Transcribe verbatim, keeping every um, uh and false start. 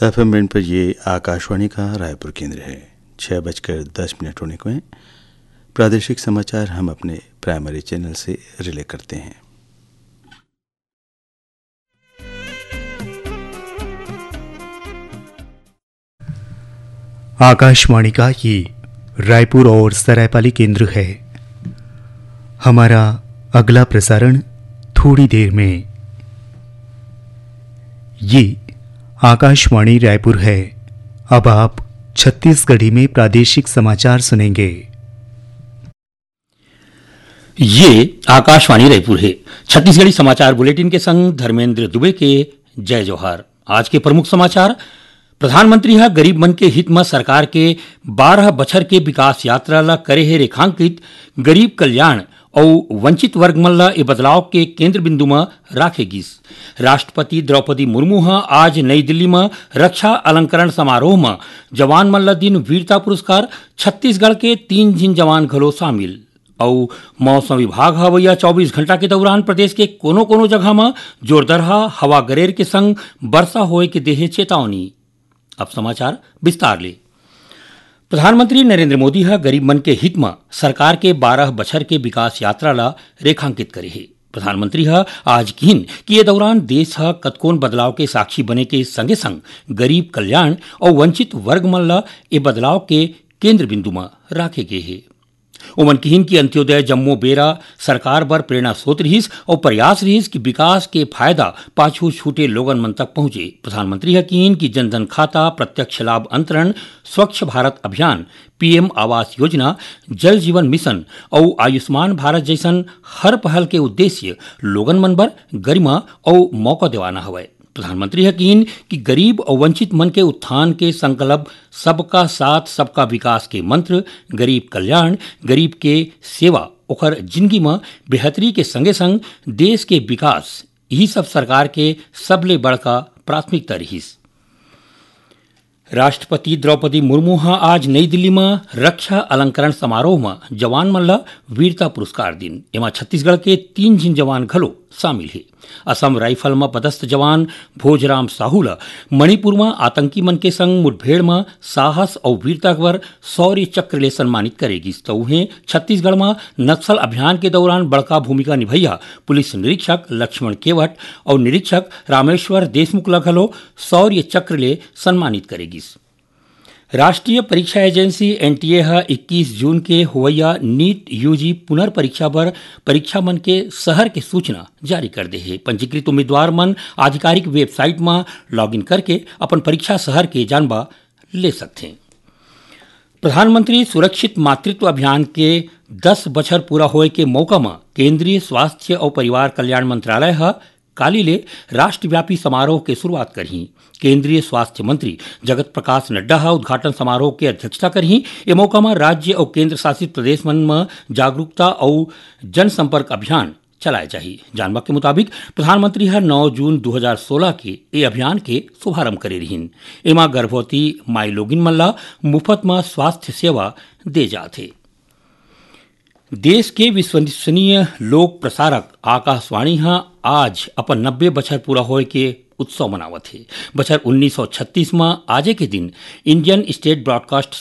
FM band पर ये आकाशवाणी का रायपुर केंद्र है। छः बजकर दस मिनट होने को हैं। प्रादेशिक समाचार हम अपने प्राइमरी चैनल से रिले करते हैं। आकाशवाणी का ये रायपुर और सरायपाली केंद्र है। हमारा अगला प्रसारण थोड़ी देर में। ये आकाशवाणी रायपुर है। अब आप छत्तीसगढ़ी में प्रादेशिक समाचार सुनेंगे। ये आकाशवाणी रायपुर है। छत्तीसगढ़ी समाचार बुलेटिन के संग धर्मेंद्र दुबे के जय जोहार। आज के प्रमुख समाचार। प्रधानमंत्री ह गरीब मन के हित म सरकार के बारह बछर के विकास यात्रा ल करे हे रेखांकित। गरीब कल्याण अउ वंचित वर्ग मन ल ए बदलाव के केंद्र बिंदु म राखे गिस। राष्ट्रपति द्रौपदी मुर्मू ह आज नई दिल्ली म रक्षा अलंकरण समारोह म जवान मन ल दिन वीरता पुरस्कार। छत्तीसगढ़ के तीन झिन जवान घलो शामिल। अउ मौसम विभाग ह अवइया चौबीस घंटा के दौरान प्रदेश के कोनो-कोनो जगह म जोरदरहा हवा गरेर के संग बरसा होए के देहे चेतावनी। अब समाचार विस्तार ले। प्रधानमंत्री नरेंद्र मोदी ह गरीब मन के हित म सरकार के बारह बछर के विकास यात्रा ल रेखांकित करे हे। प्रधानमंत्री ह आज किहिन कि ये दौरान देश ह कतकोन बदलाव के साक्षी बने के संगे-संग गरीब कल्याण अउ वंचित वर्ग मन ल ए बदलाव के केंद्र बिंदु म राखे गे हे। ओमन किहिन कि अंत्योदय जम्मो बेरा सरकार बर प्रेरणा स्रोत रिहिस अउ प्रयास रिहिस कि विकास के फायदा पाछू छूटे लोगन मन तक पहुंचे। प्रधानमंत्री ह किहिन कि जनधन खाता, प्रत्यक्ष लाभ अंतरण, स्वच्छ भारत अभियान, पीएम आवास योजना, जल जीवन मिशन अउ आयुष्मान भारत जइसन हर पहल के उद्देश्य लोगन मन बर गरिमा अउ मौका देवाना हवय। प्रधानमंत्री ह किहिन कि गरीब अउ वंचित मन के उत्थान के संकल्प, सबका साथ, सबका विकास के मंत्र, गरीब कल्याण, गरीब के सेवा, ओखर जिनगी म बेहतरी के संगे-संग देश के विकास, इही सब सरकार के सबले बड़का प्राथमिकता रिहिस। राष्ट्रपति द्रौपदी मुर्मू ह आज नई दिल्ली म रक्षा अलंकरण समारोह म जवान मन ल वीरता पुरस्कार दिन। एमा छत्तीसगढ़ के तीन झिन जवान घलो शामिल हे। असम राइफल म पदस्थ जवान भोजराम साहू ल मणिपुर म आतंकी मन के संग मुठभेड़ म साहस अउ वीरता बर शौर्य चक्र ले सम्मानित करे गिस, त उहें छत्तीसगढ़ म नक्सल अभियान के दौरान बड़का भूमिका निभैया पुलिस निरीक्षक लक्ष्मण केवट अउ निरीक्षक रामेश्वर देशमुख ल घलो शौर्य चक्र ले सम्मानित करे गिस। राष्ट्रीय परीक्षा एजेंसी, एनटीए, ह इक्कीस जून के होवइया नीट यूजी पुनर्परीक्षा बर परीक्षा मन के शहर के सूचना जारी कर दे हे। पंजीकृत उम्मीदवार मन आधिकारिक वेबसाइट म लॉगिन करके अपन परीक्षा शहर के जानबा ले सकथें। प्रधानमंत्री सुरक्षित मातृत्व अभियान के दस बछर पूरा होए के मौका म केंद्रीय स्वास्थ्य अउ परिवार कल्याण मंत्रालय ह काली ले राष्ट्रव्यापी समारोह के शुरुआत करही। केंद्रीय स्वास्थ्य मंत्री जगत प्रकाश नड्डा ह उद्घाटन समारोह के अध्यक्षता करही। ए मौका म राज्य अउ केंद्र शासित प्रदेश मन म जागरूकता अउ जनसंपर्क अभियान चलाए जाही। जानबा के मुताबिक, प्रधानमंत्री ह नौ जून दू हजार सोलह के ए अभियान के शुभारंभ करे रिहिन। एमा गर्भवती माईलोगिन मन ल मुफत म स्वास्थ्य सेवा दे जात हे। देश के विश्वसनीय लोक प्रसारक आकाशवाणी ह आज अपन नब्बे बछर पूरा होए के उत्सव मनावत हे। बछर उन्नीस सौ छत्तीस म आजे के दिन इंडियन स्टेट ब्रॉडकास्ट